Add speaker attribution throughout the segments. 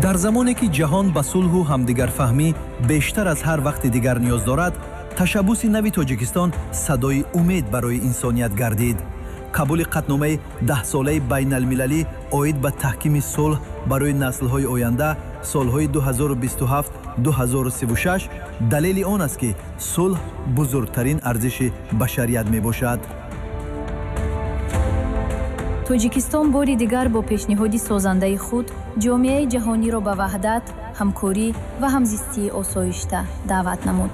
Speaker 1: Дар замоне ки ҷаҳон ба сулҳу ҳамдигарфаҳмӣ бештар аз ҳар вақти дигар ниёз дорад, ташаббуси нави Тоҷикистон садои умед барои инсоният гардид. Қабули қатномаи даҳсолаи байналмилалӣ оид ба таҳкими сулҳ барои наслҳои оянда солҳои 2027-2036 далели он аст, ки сулҳ бузургтарин арзиши башарият мебошад.
Speaker 2: Тоҷикистон бори дигар бо пешниҳоди созандаи худ ҷомеаи ҷаҳониро ба ваҳдат, ҳамкорӣ ва ҳамзистии осоишта даъват намуд.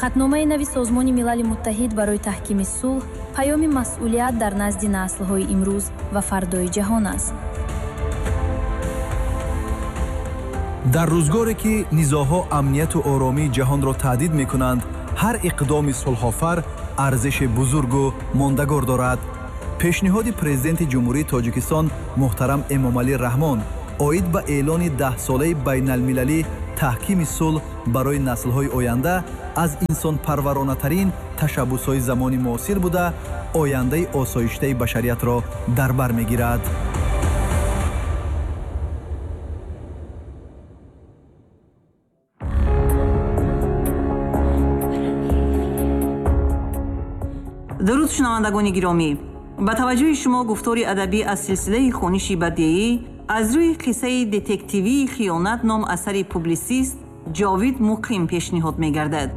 Speaker 2: Қатномаи нави Созмони Милали Муттаҳид барои таҳкими сулҳ паёми масъулият дар назди наслҳои имрӯз ва фардои ҷаҳон аст.
Speaker 1: Дар рӯзгоре ки низоъҳо амнияту оромии ҷаҳонро таҳдид мекунанд, ҳар иқдоми сулҳофар арзиши бузургу мондагор дорад. Пешниҳоди Президенти Ҷумҳурии Тоҷикистон муҳтарам Эмомалӣ Раҳмон оид ба эълони даҳсолаи байналмилалӣ таҳкими сулҳ барои наслҳои оянда аз инсонпарваронатарин ташаббусҳои замони муосир буда, ояндаи осоиштаи башариятро дар бар мегирад.
Speaker 3: Дуруд, шунавандагони гиромӣ! Ба таваҷҷӯҳи шумо гуфтори адабӣ аз силсилаи хониши бадеӣ аз рӯи қиссаи детективии «Хиёнат» ном асари публисист Ҷовид Муқим пешниҳод мегардад.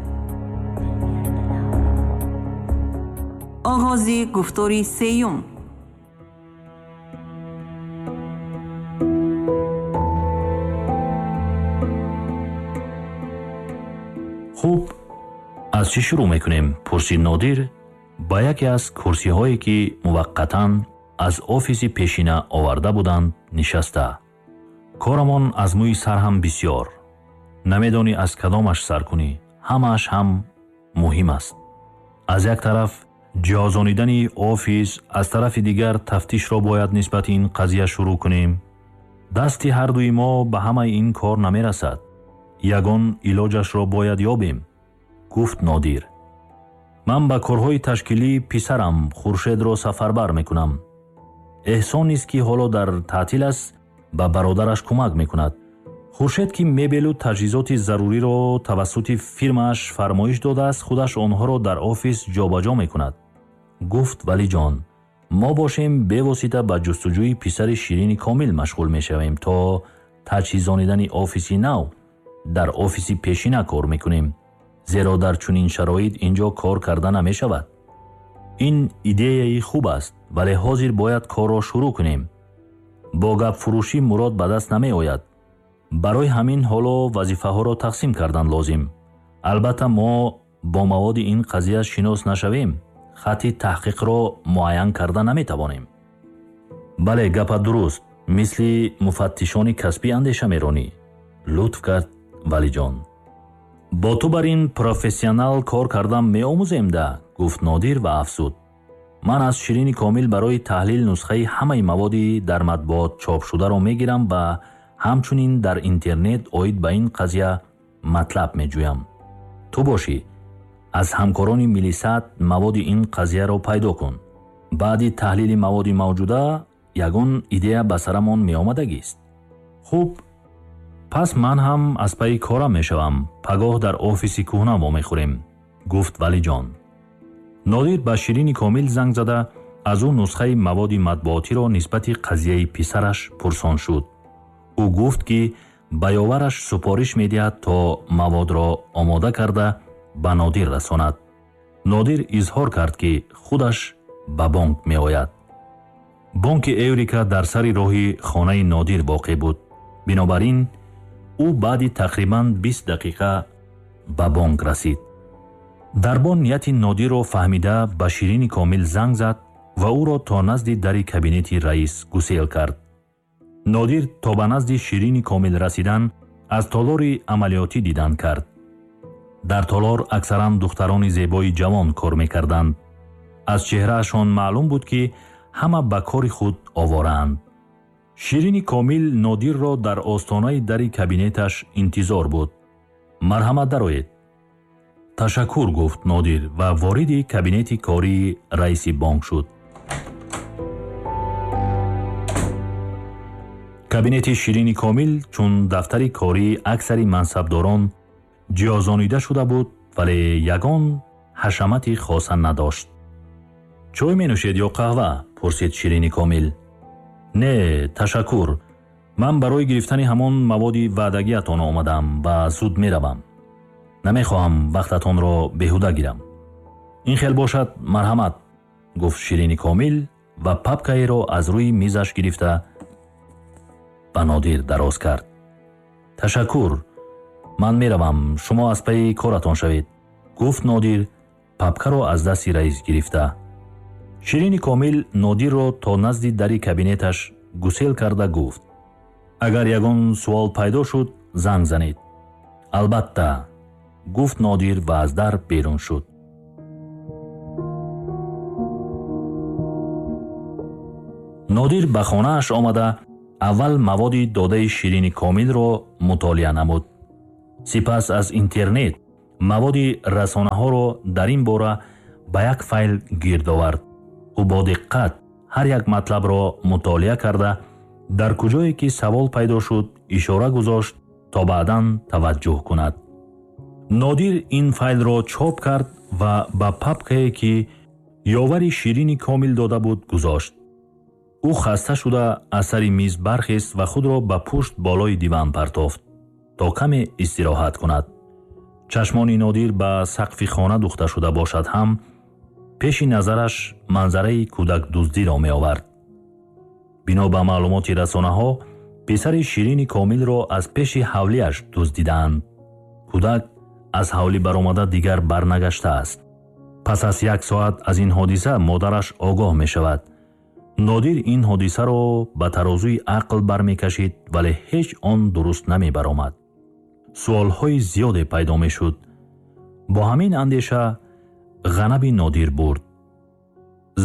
Speaker 3: Оғози гуфтори сеюм.
Speaker 4: Хуб, аз чӣ шурӯъ мекунем? Пурсид Нодир ба яке аз курсиҳое, ки муваққатан аз офиси пешина оварда буданд, нишаста. Корамон аз мӯи сар ҳам бисьёр. Намедонӣ аз кадомаш сар кунӣ, ҳамааш ҳам муҳим аст. Аз як тараф ҷиҳозонидани офис, аз тарафи дигар тафтишро бояд нисбати ин қазия шурӯъ кунем. Дасти ҳардуи мо ба ҳамаи ин кор намерасад. Ягон илоҷашро бояд ёбем, гуфт Нодир. Ман ба корҳои ташкилӣ писарам Хуршедро сафарбар мекунам. Эҳсон низ, ки ҳоло дар таътил аст, ба бародараш кӯмак мекунад. Хуршед, ки мебелу таҷҳизоти заруриро тавассути фирмааш фармоиш додааст, худаш онҳоро дар офис ҷобаҷо мекунад, гуфт Валиҷон. Мо бошем бевосита ба ҷустуҷӯи писари Ширини Комил машғул мешавем. То таҷҳизонидани офиси нав дар офиси пешина кор мекунем, зеро дар чунин шароит ин ҷо кор карда намешавад. Ин идеяи хуб аст, вале ҳозир бояд корро шурӯъ кунем. Бо гапфурӯшӣ мурод ба даст намеояд. Барои ҳамин ҳоло вазифаҳоро тақсим кардан лозим. Албатта, мо бо маводи ин қазия шинос нашавем, хатти таҳқиқро муайян карда наметавонем. Бале, гапат дуруст, мисли муфаттишони касбӣ андеша меронӣ, лутф кард Валиҷон. Бо ту бар ин профессионал кор кардан меомӯзем да, гуфт Нодир ва афзуд: ман аз Ширини Комил барои таҳлил нусхаи ҳамаи маводи дар матбуот чопшударо мегирам ва ҳамчунин дар интернет оид ба ин қазия матлаб меҷӯям. Ту бошӣ, аз ҳамкорони милисат маводи ин қазияро пайдо кун. Баъди таҳлили маводи мавҷуда ягон идея ба сарамон меомадагист. Хуб, пас ман ҳам аз пайи корам мешавам. Пагоҳ дар офиси кӯҳна вомехӯрем, гуфт Валиҷон. Нодир ба Ширини Комил занг зада, аз ӯ нусхаи маводи матбуотиро нисбати қазияи писараш пурсон шуд. Ӯ гуфт, ки ба ёвараш супориш медиҳад, то маводро омода карда ба Нодир расонад. Нодир изҳор кард, ки худаш ба бонк меояд. Бонки Эврика дар сари роҳи хонаи Нодир воқеъ буд. Бинобар ин ӯ баъди тақрибан 20 дақиқа ба бонк расид. Дарбон нияти Нодирро фаҳмида, ба Ширини Комил занг зад ва ӯро то назди дари кабинети раис гусел кард. Нодир то ба назди Ширини Комил расидан аз толори амалиётӣ дидан кард. Дар толор аксаран духтарони зебои ҷавон кор мекарданд. Аз чеҳраашон маълум буд, ки ҳама ба кори худ овораанд. Ширини Комил Нодирро дар остонаи дари кабинеташ интизор буд. Марҳамат, дароед. Ташаккур, гуфт Нодир ва вориди кабинети кории раиси бонк шуд. Кабинети Ширини Комил чун дафтари кории аксари мансабдорон ҷиҳозонида шуда буд, вале ягон ҳашамати хоса надошт. Чой менӯшед ё қаҳва? Пурсид Ширини Комил. Не, ташаккур. Ман барои гирифтани ҳамон маводи ваъдагиатон омадам ва зуд меравам. Намехоҳам вақтатонро беҳуда гирам. Ин хел бошад, марҳамат, гуфт Ширини Комил ва папкаеро аз рӯи мизаш гирифта ба Нодир дароз кард. Ташаккур, ман меравам, шумо аз пайи коратон шавед, гуфт Нодир, папкаро аз дасти раис гирифта. Ширини Комил Нодирро то назди дари кабинеташ гусел карда гуфт: агар ягон суол пайдо шуд, занг занед. Албатта, гуфт Нодир ва аз дар берун шуд. Нодир ба хонааш омада аввал маводи додаи Ширини Комилро мутолиа намуд. Сипас аз интернет маводи расонаҳоро дар ин бора ба як файл гирд овард. Ӯ бо диққат ҳар як матлабро мутолиа карда, дар куҷое ки савол пайдо шуд, ишора гузошт то баъдан таваҷҷӯҳ кунад. Нодир ин файлро чоп кард ва ба папкае ки ёвари Ширини Комил дода буд гузошт. Ӯ хаста шуда аз сари миз бархест ва худро ба пушт болои диван партофт то каме истироҳат кунад. Чашмони Нодир ба сақфи хона духта шуда бошад ҳам, пеши назараш манзараи кӯдакдуздиро меовард. Бино ба маълумоти расонаҳо, писари Ширини Комилро аз пеши ҳавлиаш дуздидаанд. Кӯдак аз ҳавлӣ баромада дигар барнагаштааст. Пас аз як соат аз ин ҳодиса модараш огоҳ мешавад. Нодир ин ҳодисаро ба тарозуи ақл бармекашид, вале ҳеҷ он дуруст намебаромад. Суолҳои зиёде пайдо мешуд. Бо ҳамин андеша ғанаби Нодир бурд.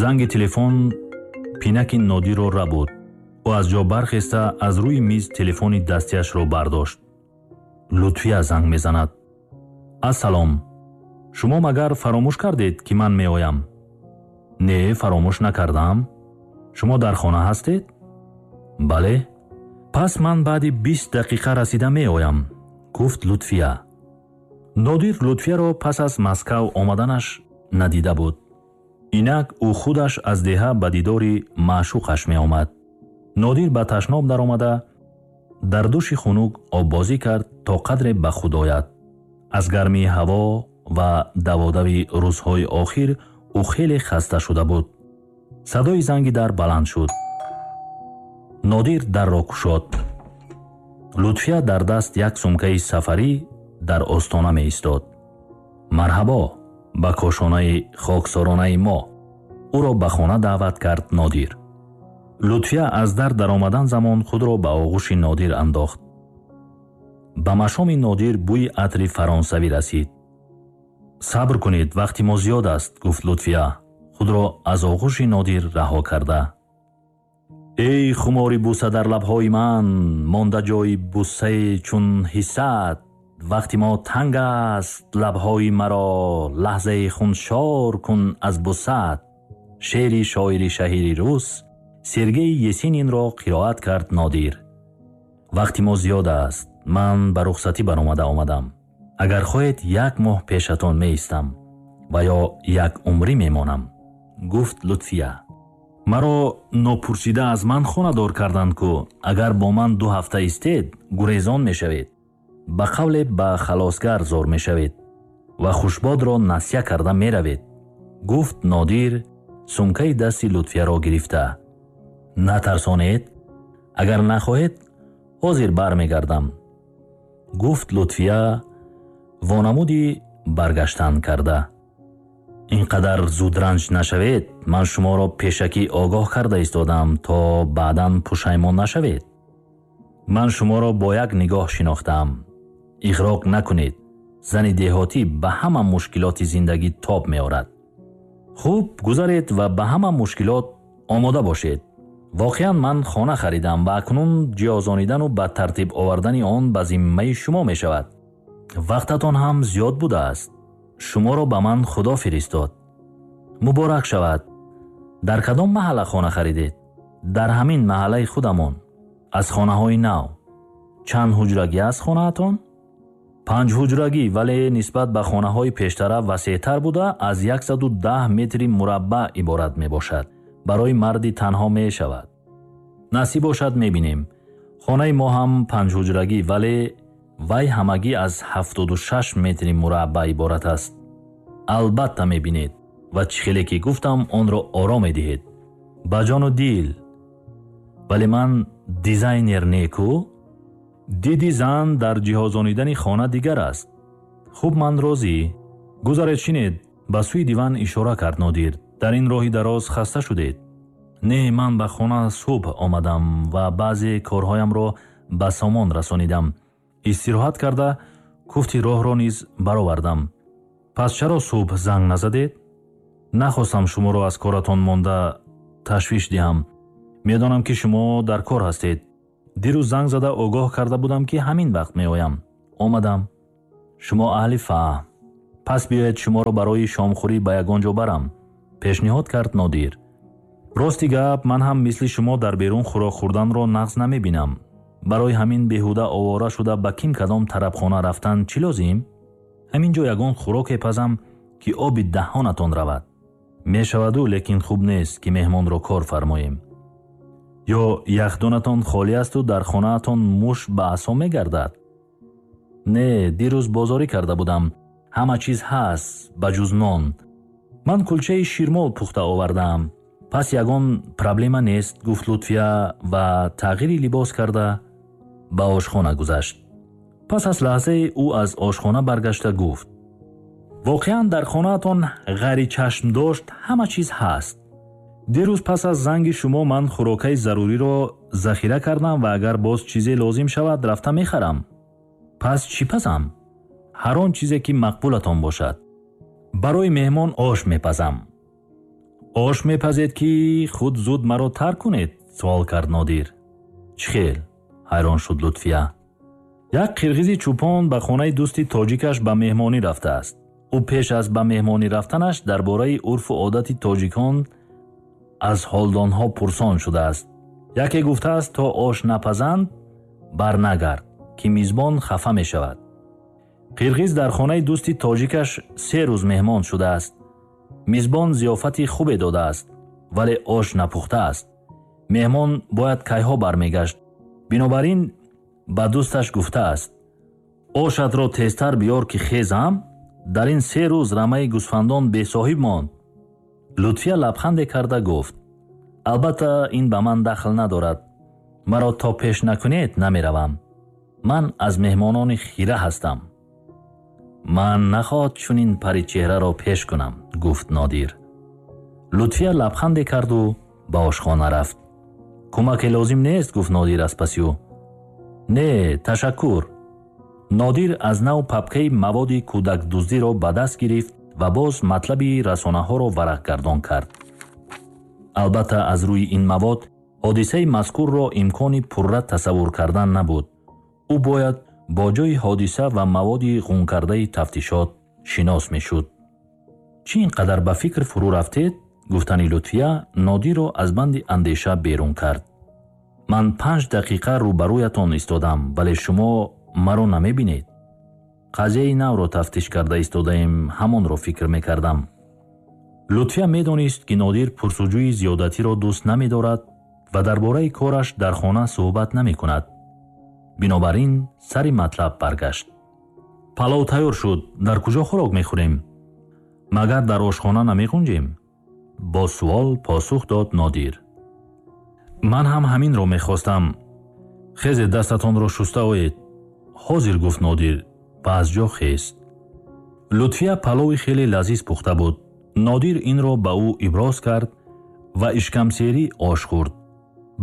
Speaker 4: Занги телефон пинаки Нодирро рабуд. Ӯ аз ҷо бархеста аз рӯи миз телефони дастиашро бардошт. Лутфия занг мезанад. Ассалом, шумо магар фаромӯш кардед, ки ман меоям? Не, фаромӯш накардам. Шумо дар хона ҳастед? Бале. Пас ман баъди 20 дақиқа расида меоям, гуфт Лутфия. Нодир Лутфияро пас аз Москав омаданаш надида буд. Инак ӯ худаш аз деҳа ба дидори маъшуқаш меомад. Нодир ба ташноб даромада дар души хунук оббозӣ кард то қадре ба худ ояд. Аз гармии ҳаво ва даводави рӯзҳои охир ӯ хеле хаста шуда буд. Садои занги дар баланд шуд. Нодир дарро кушод. Лутфия дар даст як сумкаи сафарӣ дар остона меистод. Марҳабо ба кошонаи хоксоронаи мо. Ӯро ба хона даъват кард Нодир. Лутфия аз дар даромадан замон худро ба оғӯши Нодир андохт. Ба машоми Нодир бӯи атри фаронсавӣ расид. Сабр кунед, вақти мо зиёд аст, гуфт Лутфия, худро аз оғӯши Нодир раҳо карда. Эй хумори буса дар лабҳои ман, монда ҷои бусае чун ҳиссат, вақти мо танг аст, лабҳои маро лаҳзаи хуншор кун аз бусат. Шеъри шоири шаҳири рус Сергей Есенинро қироат кард Нодир. Вақти мо зиёд аст, ман ба рухсатӣ баромада омадам. Агар хоҳед, як моҳ пешатон меистам ва ё як умрӣ мемонам, гуфт Лутфия. Маро нопурсида аз ман хонадор карданд ку, агар бо ман 2 ҳафта истед, гурезон мешавед, ба қавле ба халосгар зор мешавед ва хушбодро насия карда меравед, гуфт Нодир сумкаи дасти Лутфияро гирифта. Натарсонед, агар нахоҳед, ҳозир бармегардам, гуфт Лутфия вонамуди баргаштан карда. Ин қадар зудранҷ нашавед, ман шуморо пешакӣ огоҳ карда истодам, то баъдан пушаймон нашавед. Ман шуморо бо як нигоҳ шинохтам. Иғроқ накунед, зани деҳотӣ ба ҳама мушкилоти зиндагӣ тоб меорад. Хуб, гузаред ва ба ҳама мушкилот омода бошед. Воқеан ман хона харидам ва акнун ҷиҳозонидану ба тартиб овардани он ба зиммаи шумо мешавад. Вақтатон ҳам зиёд будааст. Шуморо ба ман Худо фиристод. Муборак шавад. Дар кадом маҳалла хона харидед? Дар ҳамин маҳаллаи худамон. Аз хонаҳои нав. Чанд ҳуҷрагӣ аст хонаатон? 5 ҳуҷрагӣ, вале нисбат ба хонаҳои пештара васеътар буда, аз 110 метри мураббаъ иборат мебошад. Барои марди танҳо мешавад. Насиб бошад, мебинем. Хонаи мо ҳам 5 ҳуҷрагӣ, вале вай ҳамагӣ аз 76 метри мураббаъ иборат аст. Албатта мебинед ва чӣ хеле ки гуфтам, онро оро медиҳед. Ба ҷону дил. Вале ман дизайнер неку? Диди зан дар ҷиҳозонидани хона дигар аст. Хуб, ман розӣ. Гузаред, шинед. Ба сӯи диван ишора кард Нодир. Дар ин роҳи дароз хаста шудед. Не, ман ба хона субҳ омадам ва баъзе корҳоямро ба сомон расонидам. Истироҳат карда куфти роҳро низ баровардам. Пас чаро субҳ занг назадед? Нахостам шуморо аз коратон монда ташвиш диҳам. Медонам, ки шумо дар кор ҳастед. Дирӯз занг зада огоҳ карда будам, ки ҳамин вақт меоям. Омадам. Шумо аҳли фаҳм. Пас биёед, шуморо барои шомхӯрӣ ба ягон ҷо барам, пешниҳод кард Нодир. Рости гап, ман ҳам мисли шумо дар берун хӯрок хӯрданро нағз намебинам. Барои ҳамин беҳуда овора шуда ба ким кадом тарабхона рафтан чӣ лозим? Ҳамин ҷо ягон хӯроке пазам, ки оби даҳонатон равад. Мешаваду, лекин хуб нест, ки меҳмонро кор фармоем. Ё яхдонатон холӣ асту дар хонаатон муш ба асо мегардад? Не, дирӯз бозорӣ карда будам. Ҳама чиз ҳаст, ба ҷуз нон. Ман кулчаи ширмол пухта овардаам. Пас ягон проблема нест, гуфт Лутфия ва тағйири либос карда ба ошхона гузашт. Пас аз лаҳзае ӯ аз ошхона баргашта гуфт: воқеан дар хонаатон ғайричашмдошт ҳама чиз ҳаст. Дирӯз пас аз занги шумо ман хӯрокаи заруриро захира кардам ва агар боз чизе лозим шавад, рафта мехарам. Пас чӣ пазам? Ҳар он чизе ки мақбулатон бошад. Барои меҳмон ош мепазам. Ош мепазед, ки худ зуд маро тарк кунед? Суол кард Нодир. Чӣ хел? Ҳайрон шуд Лутфия. Як қирғизи чӯпон ба хонаи дӯсти тоҷикаш ба меҳмонӣ рафтааст. Ӯ пеш аз ба меҳмонӣ рафтанаш дар бораи урфу одати тоҷикон аз ҳолдонҳо пурсон шудааст. Яке гуфтааст, то ош напазанд барнагард, ки мизбон хафа мешавад. Қирғиз дар хонаи дӯсти тоҷикаш 3 рӯз меҳмон шудааст. Мизбон зиёфати хубе додааст, вале ош напухтааст. Меҳмон бояд кайҳо бармегашт. Бинобар ин ба дӯсташ гуфтааст: ошатро тезтар биёр, ки хезам. Дар ин 3 рӯз рамаи гӯсфандон бесоҳиб монд. Лутфия лабханде карда гуфт: албатта, ин ба ман дахл надорад. Маро то пеш накунед намеравам. Ман аз меҳмонони хира ҳастам. Ман нахоҳад чунин паричеҳраро пеш кунам, гуфт Нодир. Лутфия лабханде карду ба ошхона рафт. Кӯмаке лозим нест, гуфт Нодир аз паси ӯ. Не, ташаккур. Нодир аз нав папкаи маводи кӯдакдуздиро ба даст гирифт ва боз матлаби расонаҳоро варақгардон кард. Албатта, аз рӯи ин мавод ҳодисаи мазкурро имкони пурра тасаввур кардан набуд. Ӯ бояд бо ҷои ҳодиса ва маводи ғункардаи тафтишот шинос мешуд. Чӣ ин қадар ба фикр фурӯ рафтед? Гуфтани Лутфия Нодирро аз банди андеша берун кард. Ман 5 дақиқа рӯбарӯятон истодам, вале шумо маро намебинед. Қазияи навро тафтиш карда истодаем, ҳамонро фикр мекардам. Лутфия медонист, ки Нодир пурсуҷӯи зиёдатиро дӯст намедорад ва дар бораи кораш дар хона суҳбат намекунад. Бинобар ин сари матлаб баргашт. Палов тайёр шуд, дар куҷо хӯрок мехӯрем? Магар дар ошхона намеғунҷем? Бо суол посух дод Нодир. Ман ҳам ҳаминро мехостам. Хезе, дастатонро шуста оед. Ҳозир, гуфт Нодир ва аз ҷо хест. Лутфия палови хеле лазиз пухта буд. Нодир инро ба ӯ иброз кард ва ишкамсерӣ ош хӯрд.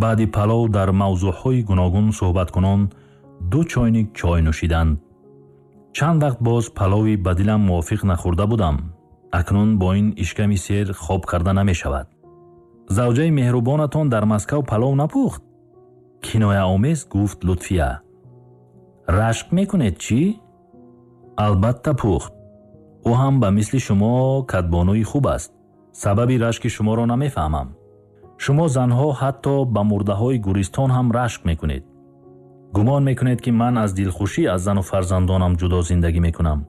Speaker 4: Баъди палов дар мавзӯъҳои гуногун суҳбаткунон 2 чойник чой нӯшиданд. Чанд вақт боз палови ба дилам мувофиқ нахӯрда будам. Акнун бо ин ишками сер хоб карда намешавад. Завҷаи меҳрубонатон дар Москав палов напухт? Кинояомез гуфт Лутфия. Рашк мекунед чӣ? Албатта пухт. Ӯ ҳам ба мисли шумо кадбонуи хуб аст. Сабаби рашки шуморо намефаҳмам. Шумо занҳо ҳатто ба мурдаҳои гӯристон ҳам рашк мекунед. Гумон мекунед, ки ман аз дилхушӣ аз зану фарзандонам ҷудо зиндагӣ мекунам.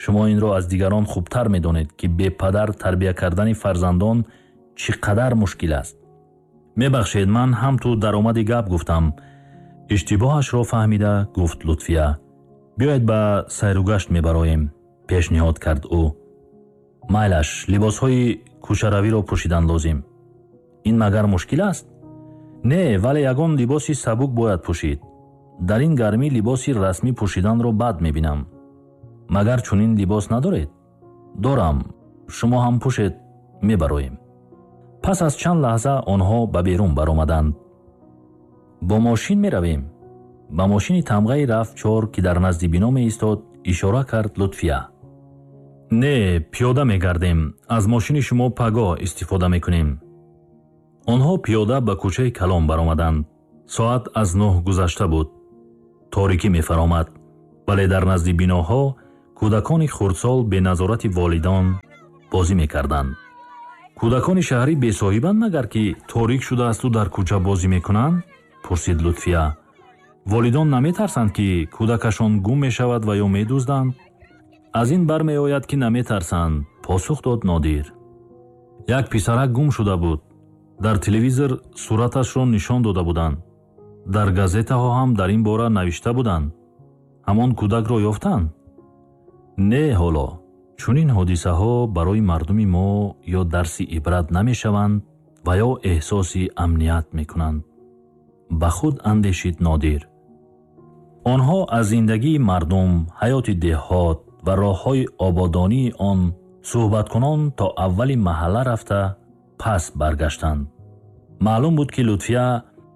Speaker 4: Шумо инро аз дигарон хубтар медонед, ки бепадар тарбия кардани фарзандон чӣ қадар мушкил аст. Мебахшед, ман ҳам ту даромади гап гуфтам. Иштибоҳашро фаҳмида гуфт Лутфия. Биёед ба сайругашт мебароем, пешниҳод кард ӯ. Майлаш, либосҳои кӯчаравиро пӯшидан лозим. Ин магар мушкил аст? Не, вале ягон либоси сабук бояд пӯшид. Дар ин гармӣ либоси расмӣ пӯшиданро бад мебинам. Магар чунин либос надоред? Дорам. Шумо ҳам пӯшед, мебароем. Пас аз чанд лаҳза онҳо ба берун баромаданд. Бо мошин меравем. Ба мошини тамғаи Рав-4, ки дар назди бино меистод, ишора кард Лутфия. Не, пиёда мегардем. Аз мошини шумо пагоҳ истифода мекунем. Онҳо пиёда ба кӯчаи калон баромаданд. Соат аз 9 гузашта буд. Торикӣ мефаромад, вале дар назди биноҳо кӯдакони хурдсол бе назорати волидон бозӣ мекарданд. Кӯдакони шаҳрӣ бесоҳибанд магар, ки торик шудаасту дар кӯча бозӣ мекунанд? Пурсид Лутфия. Волидон наметарсанд, ки кӯдакашон гум мешавад ва ё медузданд? Аз ин бармеояд, ки наметарсанд, посух дод Нодир. Як писарак гум шуда буд. Дар телевизор сураташро нишон дода буданд. Дар газетаҳо ҳам дар ин бора навишта буданд. Ҳамон кӯдакро ёфтанд? Не, ҳоло. Чунин ҳодисаҳо барои мардуми мо ё дарси ибрат намешаванд ва ё эҳсоси амният мекунанд. Ба худ андешид Нодир. Онҳо аз зиндагии мардум, ҳаёти деҳот ва роҳҳои ободонии он суҳбаткунон то аввали маҳалла рафта пас баргаштанд. Маълум буд, ки Лутфия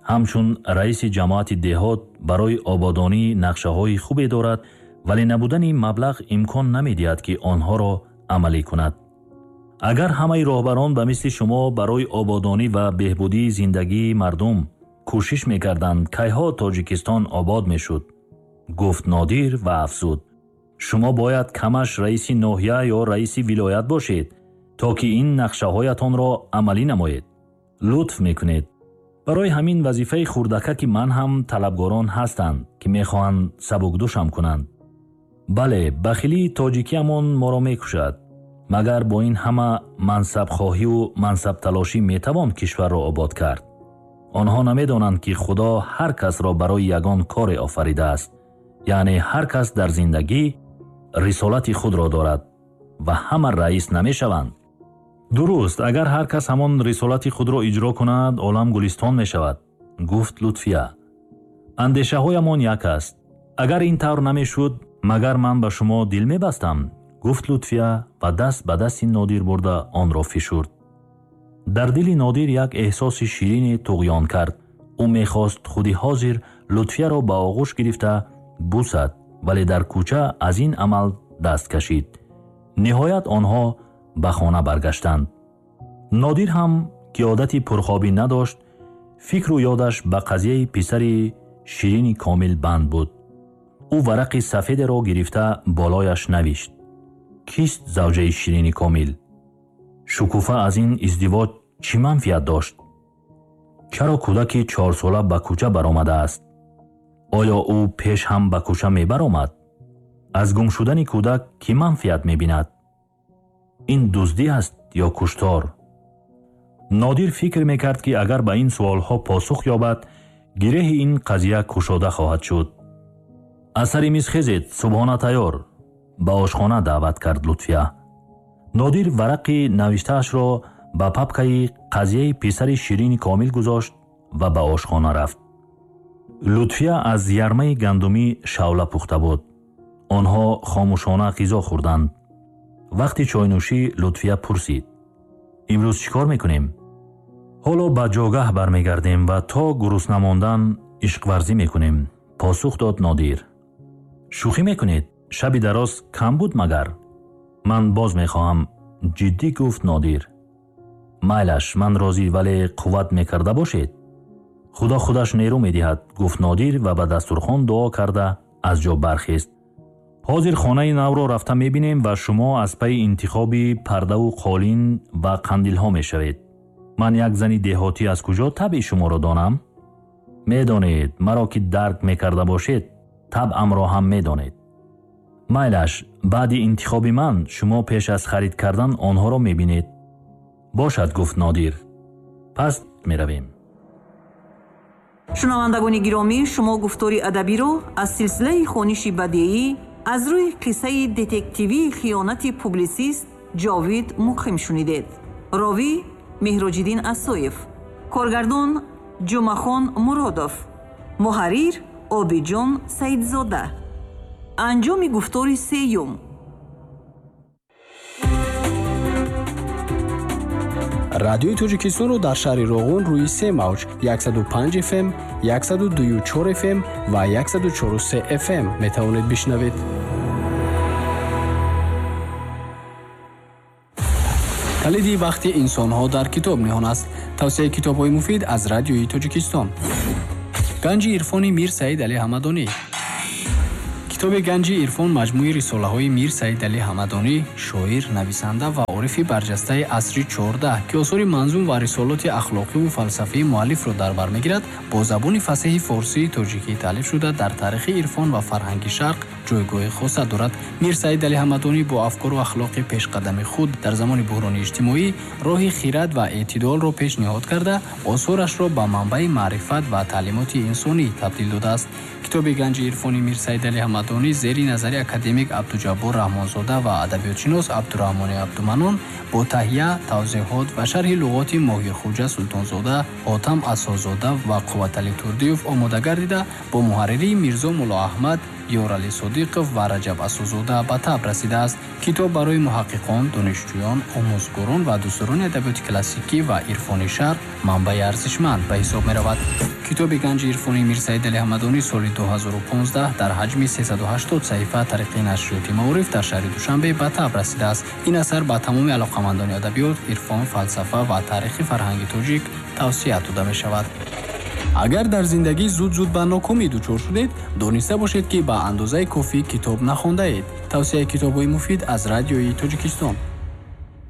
Speaker 4: ҳамчун раиси ҷамоати деҳот барои ободонӣ нақшаҳои хубе дорад, вале набудани маблағ имкон намедиҳад, ки онҳоро амалӣ кунад. Агар ҳамаи роҳбарон ба мисли шумо барои ободонӣ ва беҳбудии зиндагии мардум кӯшиш мекарданд, кайҳо Тоҷикистон обод мешуд, гуфт Нодир ва афзуд. Шумо бояд камаш раиси ноҳия ё раиси вилоят бошед, то ки ин нақшаҳоятонро амалӣ намоед. Лутф мекунед. Барои ҳамин вазифаи хурдакаки ман ҳам талабгорон ҳастанд, ки мехоҳанд сабукдӯшам кунанд. Бале, бахилии тоҷикиамон моро мекушад. Магар бо ин ҳама мансабхоҳиву мансабталошӣ метавон кишварро обод кард? Онҳо намедонанд, ки Худо ҳар касро барои ягон коре офаридааст. Яъне ҳар кас дар зиндагӣ рисолати худро дорад ва ҳама раис намешаванд. Дуруст, агар ҳар кас ҳамон рисолати худро иҷро кунад, олам гулистон мешавад, гуфт Лутфия. Андешаҳоямон як аст. Агар ин тавр намешуд, магар ман ба шумо дил мебастам? Гуфт Лутфия ва даст ба дасти Нодир бурда онро фишурд. Дар дили Нодир як эҳсоси ширине туғён кард. Ӯ мехост худи ҳозир Лутфияро ба оғӯш гирифта бусад, вале дар кӯча аз ин амал даст кашид. Ниҳоят онҳо ба хона баргаштанд. Нодир ҳам, ки одати пурхобӣ надошт, фикру ёдаш ба қазияи писари ширини Комил банд буд. Ӯ варақи сафедеро гирифта болояш навишт. Кист завҷаи ширини Комил? Шукуфа аз ин издивоҷ чӣ манфиат дошт? Чаро кӯдаки 4сола ба кӯча баромадааст? Оё ӯ пеш ҳам ба кӯча мебаромад? Аз гум шудани кӯдак кӣ манфиат мебинад? Ин дуздӣ аст ё куштор? Нодир фикр мекард, ки агар ба ин суолҳо посух ёбад, гиреҳи ин қазия кушода хоҳад шуд. Аз сари миз хезед, субҳона тайёр, ба ошхона даъват кард Лутфия. Нодир варақи навиштаашро ба папкаи қазияи писари ширини Комил гузошт ва ба ошхона рафт. Лутфия аз ярмаи гандумӣ шавла пухта буд. Онҳо хомӯшона ғизо хӯрданд. Вақти чойнӯшӣ Лутфия пурсид: имрӯз чӣ кор мекунем? Ҳоло ба ҷогаҳ бармегардем ва то гурусна мондан ишқварзӣ мекунем, посух дод Нодир. Шӯхӣ мекунед? Шаби дароз кам буд магар? Ман боз мехоҳам, ҷиддӣ гуфт Нодир. Майлаш, ман розӣ, вале қувват мекарда бошед. Худо худаш нерӯ медиҳад, гуфт Нодир ва ба дастурхон дуо карда аз ҷо бархест. Ҳозир хонаи навро рафта мебинем ва шумо аз пайи интихоби пардаву қолин ва қандилҳо мешавед. Ман як зани деҳотӣ аз куҷо табъи шуморо донам? Медонед, маро ки дарк мекарда бошед, табъамро ҳам медонед. Майлаш, баъди интихоби ман шумо пеш аз харид кардан онҳоро мебинед. Бошад, гуфт Нодир. Пас меравем.
Speaker 3: Шунавандагони гиромӣ, шумо гуфтори адабиро аз силсилаи хониши бадеӣ аз рӯи қиссаи детективии хиёнати публисист Ҷовид Муқим шунидед. Ровӣ Меҳроҷиддин Асоев, коргардон Ҷумъахон Муродов, муҳаррир Обиҷон Саидзода. Анҷоми гуфтори сеюм.
Speaker 5: Радиои Тоҷикистонро дар шаҳри Роғун рӯи се мавҷ 105 FM, 102,4 FM ва 104,3 FM метавонед бишнавед. Калиди бахти инсонҳо дар китоб ниҳон аст. Тавсияи китобҳои муфид аз Радиои Тоҷикистон. Ганҷи ирфони Мир Саид Али Ҳамадонӣ. Китоби Ганҷи ирфон маҷмӯи рисолаҳои Мир Саид Али Ҳамадонӣ, шоир, нависанда ва орифи барҷастаи асри 14, ки осори манзум ва рисолоти ахлоқиву фалсафии муаллифро дар бар мегирад, бо забони фасеҳи форсии тоҷикӣ таълиф шуда, дар таърихи ирфон ва фарҳанги шарқ ҷойгоҳи хоса дорад. Мир Саид Али Ҳамадонӣ бо афкору ахлоқи пешқадами худ дар замони буҳрони иҷтимоӣ роҳи хирад ва эътидолро пешниҳод карда, осорашро ба манбаи маърифат ва таълимоти инсонӣ табдил додааст. Китоби Ганҷи ирфони Мир Саид Али Ҳамадонӣ зери назари академик Абдуҷаббор Раҳмонзода ва адабиётшинос Абдураҳмони Абдуманон бо таҳия, тавзеҳот ва шарҳи луғоти Моҳирхуҷа Султонзода, Ҳотам Асозода ва Қувватали Турдиев омода гардида, бо муҳарририи Мирзо Муллоаҳмад, Ёрали Содиқов ва Раҷаб Асозода ба таб расидааст. Китоб барои муҳаққиқон, донишҷӯён, омӯзгорон ва дӯстдорони адабиёти классикӣ ва ирфони шарқ манбаи арзишманд ба ҳисоб меравад. Китоби Ганҷи ирфони Мир Саид Али Ҳамадонӣ соли 2015 дар ҳаҷми 380 саҳифа тариқи нашриёти Маориф дар шаҳри Душанбе ба таб расидааст. Ин асар ба тамоми алоқамандони адабиёт, ирфон, фалсафа ва таърихи фарҳанги тоҷик тавсия дода мешавад. Агар дар зиндагӣ зуд-зуд ба нокомӣ дучор шудед, дониста бошед, ки ба андозаи кофӣ китоб нахондаед. Тавсияи китобҳои муфид аз Радиои Тоҷикистон.